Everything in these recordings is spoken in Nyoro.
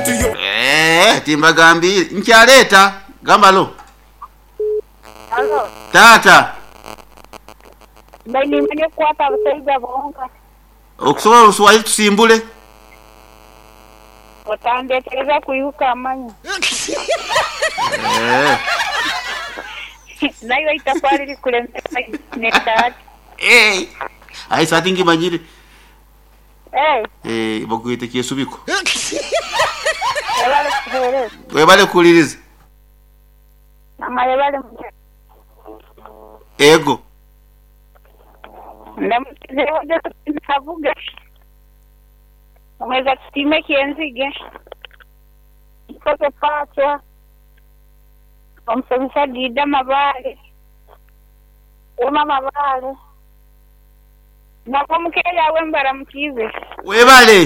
Eh, timbagambire nkyaleeta gamba lo. Halo, Taata. Mbaire nimanya okukwata abasaija bonka. Okusobola oluswahili tusimbule. Otandetereza kwihuka amanyo. Eh. Naiwe eitafali likulemesa n'esaati. Eh. Aye saati ngimanyire. Eh, Eh, bakwete kyesubiko. webale kutuheereza. Webale kuwuliriza. Mama yebale mukyala. Ego. Ndamukizeeho Josephine Kabuga. Omweza tusiime Kyenzige. Nkoze Paachwa. Omusomesa Dida Mabaale. Wema Mabaale. Nabo mukeera awe mbaramukiize. Webale.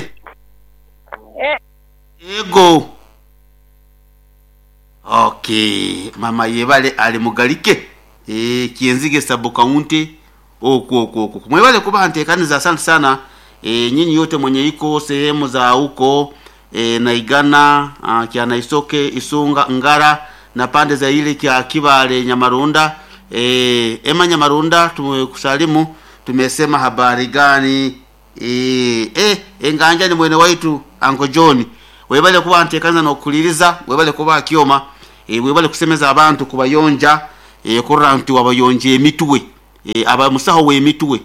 Eh. Ego. Okay, mama yebale ali mugalike. Eh, Kyenzige sub county okwo okwo okwo. Mwebale kuba ntekaniza, asante sana. E, nyinyi yote mwenye iko sehemu za huko e, Naigana, kya Naisoke, Isunga, Ngara na pande za ile kya Kibale Nyamarunda. E, ema Nyamarunda tumekusalimu, tumesema habari gani? E, e, enganja ni mwene waitu Uncle John. Webale kuba ntekaniza nokuliriza, webale kuba kyoma, e, webale kusemeza abantu kubayonja, e, kurra nti wabayonje emitwe. E, aba musaho w'emitwe.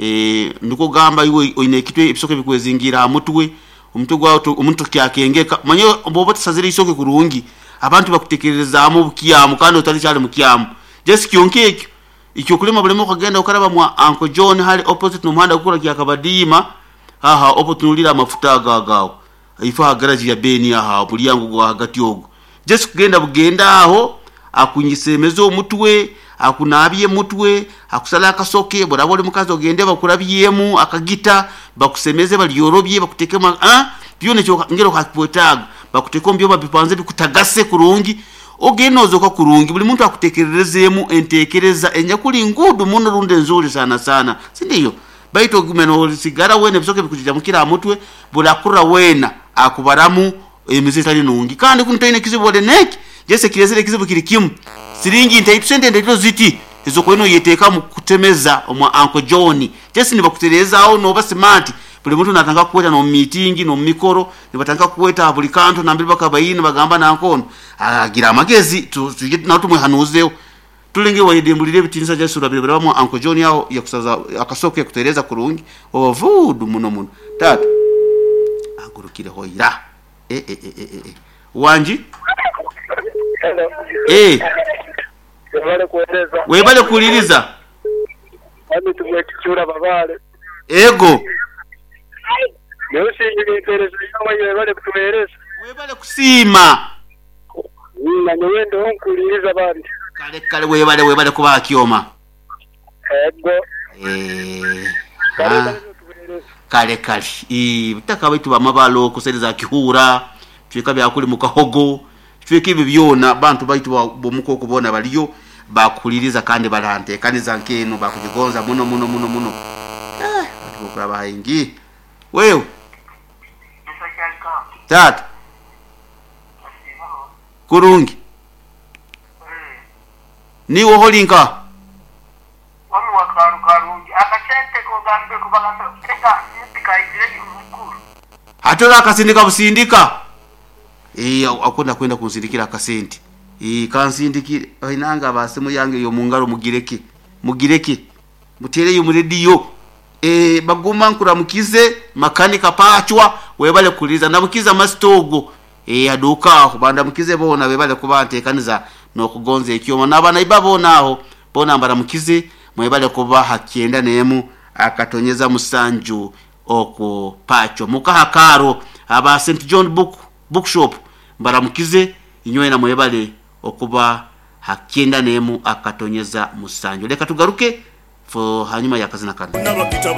E, nikugamba iwe oine ekitwe ebisoke bikwezingira ha mutwe, omutwe gwawe omuntu kyakengeka manye bwoba otasazire isoke kurungi abantu bakutekerezaamu obukyamu kandi otali kyali mukyamu. Just kyonka ekyo ekyokulema bulema okagenda okaraba mwa Uncle John hali opposite n'omuhanda gukura kyakabadiima haha opo tunulira amafuta ago agawo ifo ha garage ya Beni aha mulyango gwa hagati ogwo. Just kugenda bugenda aho akunyisemeza omutwe, akunabye mutwe, akusala akasoke, boraba oli mukazi ogende bakurabyemu akagita, bakusemeze balyorobye bakutekemu byona ekyo ngero kakwetaaga bakuteka omu byoma bipanze bikutagase kurungi, ogenda ozoka kurungi, buli muntu akutekererezeemu entekereza enyakuli ngudu muno rundi nzuri sana sana, sindiyo? Baitu ogume nosigara wena ebisoke bikujija mukira aha mutwe, burakura wena akubaramu emize etali nungi kandi kunu toine kizibu ore neki jese kirezere ekizibu kiri kimu siringi ntaito sente ntaito ziti ezokwena oyeteeka mu kutemeza omwa Uncle John. Jesi nibakutereezaawo noba smart, buli muntu natandika kukweta n'omu meeting n'omu mikoro nibatandika kukweta buli kantu nambere bakabaine bagamba nankono agira amagezi tuje nawe tumwehanuzeho tulenge wayedembulire ebitinisa Jesu urabire birabamu Uncle John aho yakusaza akasoke yakutereza kurungi obavudu muno muno. Tata agurukire hoira. E, e, e, e, e. Wanji? Hello. Eh, Webale kuweereza. webale kuliriza. Ami tumwekikyura Babale. Ego. Neusingira empeereza yawe webale kutuweereza. Webale kusiima. Na nyowe ndiho nkuliriza bandi. Kale kale webale webale kuba kyoma. Ego. Eh. Kale Ah. kale tuweereza. Kale kale. Eh, butaka baitu bamabalo kusereza kihura, tweka byakuli mu kahogo, tweka ebyo byona bantu baitu bomukoko bona baliyo bakuliriza kandi barantekaniza nkeno bakujigonza muno muno muno muno. Eh, bantu bokuraba haingi. Wewe tata kurungi niwe holinka Wami wakaru karungi akasente kogambe kubagamba eka nitikaizire mukuru. Hatora akasindika busindika. Eh, akunda kwenda kunsindikira akasente. Eh, kansindikire ainanga basimu yange yo mungaro mugireke mugireke mutereyo mu radio. Eh, baguma nkuramukize makanika pachwa webale kuliza ndamukiza masitogo. Eh, aduka aho bandamukize bona webale kuba ntekaniza nokugonza ekyoma nabana iba bona aho bona mbaramukize mwebale kuba hakyenda nemu akatonyeza musanju okwo pacho mukaha karo aba St John Book Bookshop mbaramukize inywena mwebale okuba hakyenda nemu akatonyeza musanju. Leka tugaruke fo hanyuma ya kazina kano. N'abakita.